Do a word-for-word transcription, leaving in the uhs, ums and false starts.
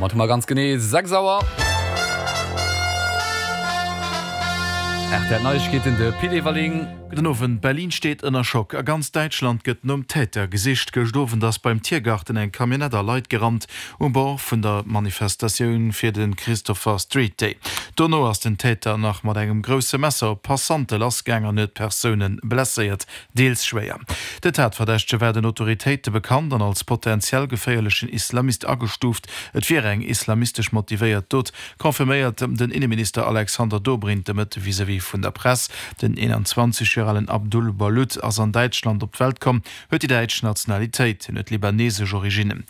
Domat hu mer ganz genee sechs Auer. Rtl Neiegkeeten, de Pit Everling. Gudden Owend. Berlin steet ënner Schock. A ganz Däitschland gëtt nom Täter gesicht. Gëscht Owend ass beim Tiergarten eng Camionnette a Leit gerannt, um Bord vun der Manifestatioun fir de Christopher Street Day. Dono ass den Täter nach mat engem grousse Messer op Passante lassgaang an huet Persoune blesséiert, deels schwéier. Den Tatverdächtege war den Autoritéite bekannt an als potentiell geféierlechen Islamist agestuuft. Et wier eng islamistesch motivéiert Dot, confirméiert den Inneminister Alexander Dobrindt de Mëtte vis-à-vis vun der Press. Den einundzwanzeg Joer alen Abdul Balut ass an Däitschland op d'Welt komm, huet déi däitsch Nationalitéit, hien huet libanesesch Originnen.